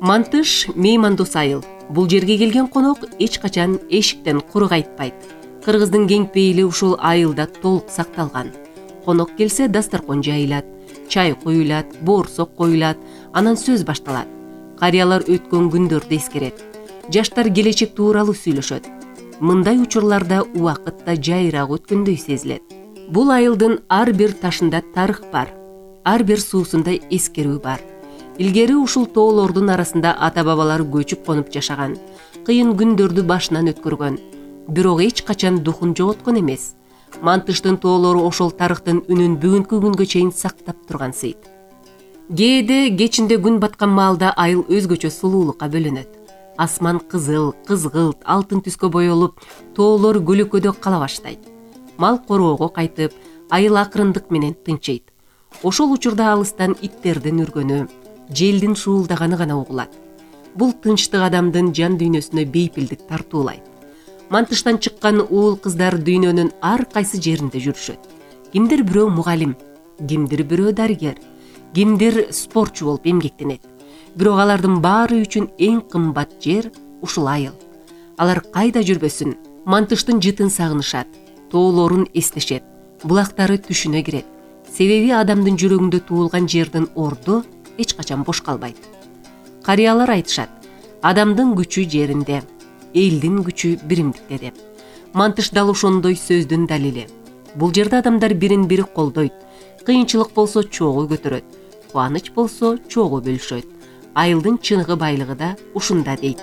Мантыш меймандос айыл. Бул жерге келген конок эч качан эшиктен куру кайтпайт. Кыргыздын кең пейили ушул айылда толук сакталган. Конок келсе дастаркон жайылат, чай коюлат, боорсок коюлат, анан сөз башталат. Карыялар өткөн күндөрдү эскерет. Жаштар келечек тууралуу сүйлөшөт. Мындай учурларда убакыт да жайыраак өткөндөй сезилет. Бул айылдын ар бир ташында тарых бар, ар бир суусунда эскерүү бар. Илгери ушул тоолордун арасында ата-бабалар көчүп конуп жашаган, кыйын күндөрдү башынан өткөргөн, бирок эч качан духун жоготкон эмес. Мантыштын тоолору ошол тарыхтын үнүн бүгүнкү күнгө чейин сактап турган сыйт. Кээде кечинде күн баткан маалда айыл өзгөчө сулуулукка бөлөнөт. Асман кызыл, кызгылт, алтын түскө боелуп, тоолор көлөкөдө кала баштайт. Мал короого кайтып, айыл акырындык менен тынчыйт. Ошол учурда алыстан иттердин үргөнү, желдин шуулдаганы гана угулат. Бул тынчтык адамдын жан дүйнөсүнө бейпилдик тартуулайт. Мантыштан чыккан уул кыздар дүйнөнүн ар кайсы жеринде жүрүшөт. Кимдир бирөө мугалим, кимдир бирөө дарыгер, кимдир спортчу болуп эмгектенет. Бирок алардын баары үчүн эң кымбат жер ушул айыл. Алар кайда жүрбөсүн, Мантыштын жытын сагынышат, тоолорун эстешет, булактары түшүнө кирет. Себеби адамдын жүрөгүндө туулган жердин орду эч качан бош калбайт. Карыялар айтышат, адамдын күчү жеринде, элдин күчү биримдикте деп. Мантыш дал ошондой сөздүн далили. Бул жерде адамдар бирин бири колдойт. Кыйынчылык болсо чогуу көтөрөт, кубаныч болсо чогуу бөлүшөт. Айылдын чыныгы байлыгы да ушунда дейт.